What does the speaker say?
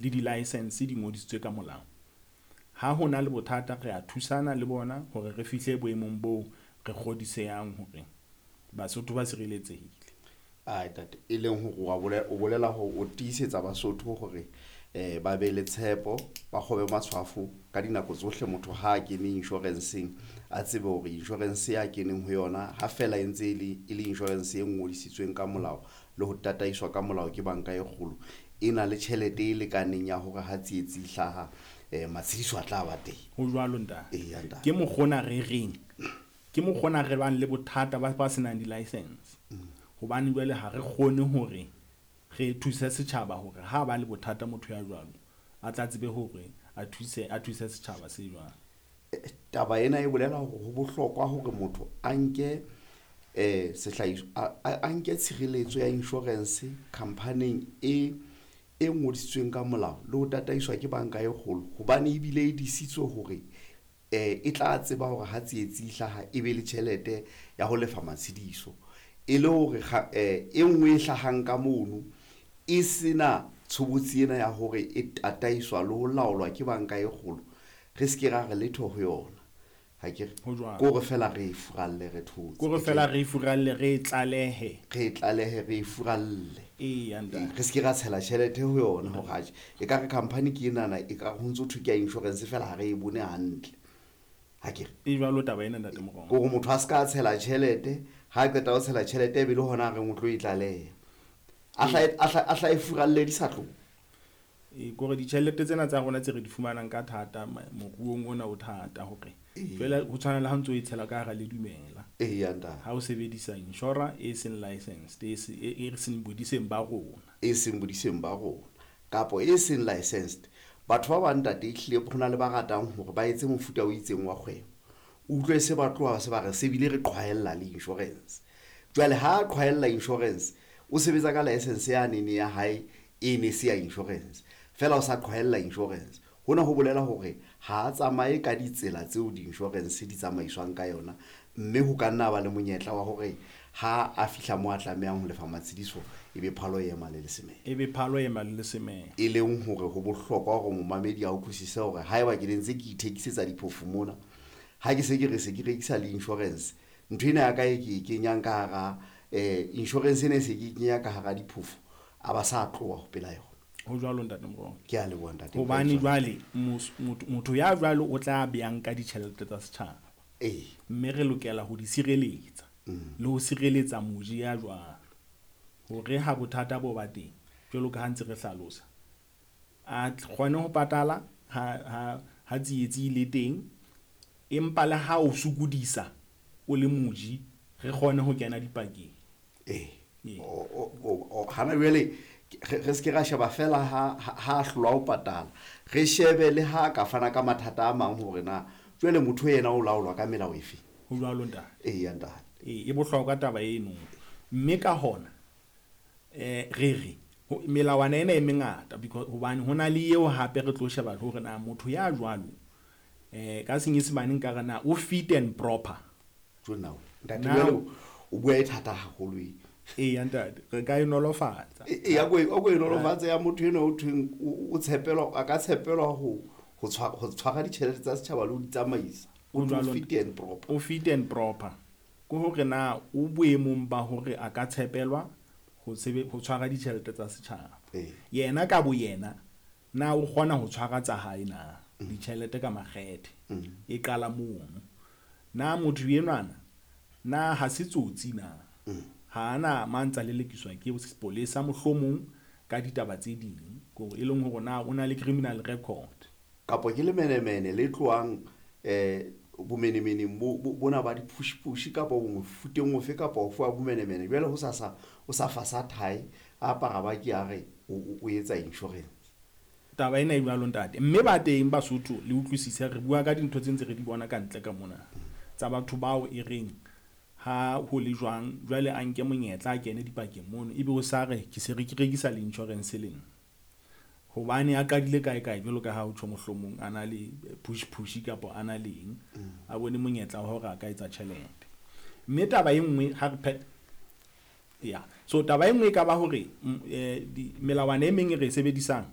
le di-license di ngodisitswe ka molao. Ha ho na le bothata re a thusana le bona hore re fihle boemong boo re kgodisehang hore Basotho ba sireletsehile. Ai tate, e leng hore wa bolela, o bolela hore o tiisetsa Basotho hore eh ba be le tshepo, ba kgobe matshwafo ka dinako tsohle. Motho ha a kene insurance-eng a tsebe hore insurance ya keneng ho yona ha fela e ntse e le insurance e ngodisitsweng ka molao le ho tataiswa ka molao ke banka e kgolo, e na le tjhelete e lekaneng ya hore ha tsietsi e hlaha matshediso a tla ba teng. Ho jwalo ntate. Eya ntate. Ke mokgona re reng, ke mokgona re bang le bothata ba senang di-license. Hobane jwale ha re kgone hore re thuse setjhaba hore ha ba le bothata motho ya jwalo a tla tsebe hore a thuse setjhaba se jwang. Taba ena e bolela hore ho bohlokwa hore motho a nke sehlahiswa, a nke tshireletso ya insurance company e e ngodisitsweng ka molao le ho tataiswa ke banka e kgolo, hobane ebile e disitswe hore e tla tseba hore ha tsietsi e hlaha e be le tjhelete ya ho lefa matshediso, e le hore e nngwe e hlahang ka mono e sena tshobotsi ena ya hore e tataiswa le ho laolwa ke banka e kgolo, re se ke ra re letho ho yona. Ha ke re, Ho jwalo. ke hore fela re e furalle re thotse. Ke hore fela re e furalle, re e tlalehe. Re e tlalehe, re e furalle. Eya, ntate. Re se ke ra tshela tjhelete ho yona hore atjhe, e ka re company ke enana, e ka re ho ntso thwe ke ya insurance fela ha re e bone hantle. Ha ke re. E jwalo taba ena, ntate Morongwa. Ke hore motho a se ka tshela tjhelete, ha a qeta ho tshela tjhelete e be le hona a reng o tlo e tlaleha. A hla e furalle di sa tloha. Ke hore ditjhelete tsena tsa rona tse re di fumanang ka thata moruong ona o thata hore jwale ho tshwana le ha ntso e tshela ka hara ledumela. Eya ntate. Ha o sebedisa insurance e seng licensed, e seng bodiseng ba rona. E seng bodiseng ba rona kapo e seng licensed. Batho ba bang ntate ehlile ho na le ba ratang hore ba etse mofuta o itseng wa kgwebo. O utlwe se ba tloha se ba re se bile re qhwaella le insurance. Jwale ha a qhwaella insurance, o sebetsa ka license ya nene ya hae e ne se ya insurance, fela o sa qhwaella insurance. Hona ho bolela hore ha a tsamaye ka ditsela tseo di-insurance di tsamaiswang ka yona, mme ho ka nna ba le monyetla wa hore ha a fihla moo a tlamehang ho lefa matshediso, e be phalo e ema le lesemela. E be phalo e ema le lesemela. E leng hore ho bohlokwa hore momamedi a utlwisise hore haeba ke ne ntse ke ithekisetsa diphofu mona, ha ke se ke re se ke rekisa le insurance, ntho ena ya ka e ke e kenyang ka hara insurance ena e se ke e kenya ka hara diphofu, a ba sa tloha ho pela yona. Ho jwalo ntate Morongwa. Ke a leboha ntate. Hobane jwale motho ya jwalo o tla beyang ka ditjhelete tsa setjhaba. Mme re lokela ho di sireletsa le ho sireletsa moji ya jwalo. Hore ha bothata bo ba teng, jwalo ka ha ntse re hlalosa, a kgone ho patala ha tsietsi le teng, empa le ha o sokodisa o le moji, re kgone ho kena dipakeng. Hana jwale re se ke ra sheba fela ha hlolwa ho patala, re shebe le ha ka fana ka mathata a mang hore na jwale motho yena o laolwa ka melao efe. Ho jwalo ntate. Eya ntate. E bohlokwa taba eno. Mme ka hona re re melawana ena e mengata because hobane hona le eo hape re tlo sheba hore na motho ya jwalo ka senyesemane nka re na o fit and proper. Jo now ntate, jwale o bua e thata haholo e. Eya ntate, re ka e nolofatsa. Eya, ko e nolofatsa ya motho enwa o thweng o tshepelwa, a ka tshepelwa ho tshwara ditjhelete tsa setjhaba le ho di tsamaisa. O fit and proper. O fit and proper. Ke hore na o boemong ba hore a ka tshepelwa ho tshwara ditjhelete tsa setjhaba. Yena ka bo yena na o kgona ho tshwara tsa hae na ditjhelete ka makgethe. E qala mono. Na motho enwana na ha se tsotsi na? Ha ana mantsa lelekiswa ke sepolesa mohlomong ka ditaba tse ding, hore e leng hore na o na le criminal record. Kapo ke lemenemene le tlohang bomenemeneng bona ba diphushipushi kapa mofuteng ofe kapa ofe wa bomenemene. Jwale ho sasa o sa fasa thae, a apara ba ke a re o etsa insurance. Taba ena e jwalo ntate. Mme ba teng Basotho le utlwisise, re bua ka dintho tse ntse re di bona ka ntle ka mona tsa batho bao e reng ha ho le jwang jwale a nke monyetla a kene dipakeng mono, ebe o sa re ke se re ke rekisa le insurance le nna. Hobane a qadile kae kae jwalo ka ha o tjho mohlomong a na le push push kapa a na leng, a bone monyetla wa hore a ka etsa tjhelete. Mme taba e nngwe ha re ya so taba e nngwe e ka ba hore melawana e meng e re e sebedisang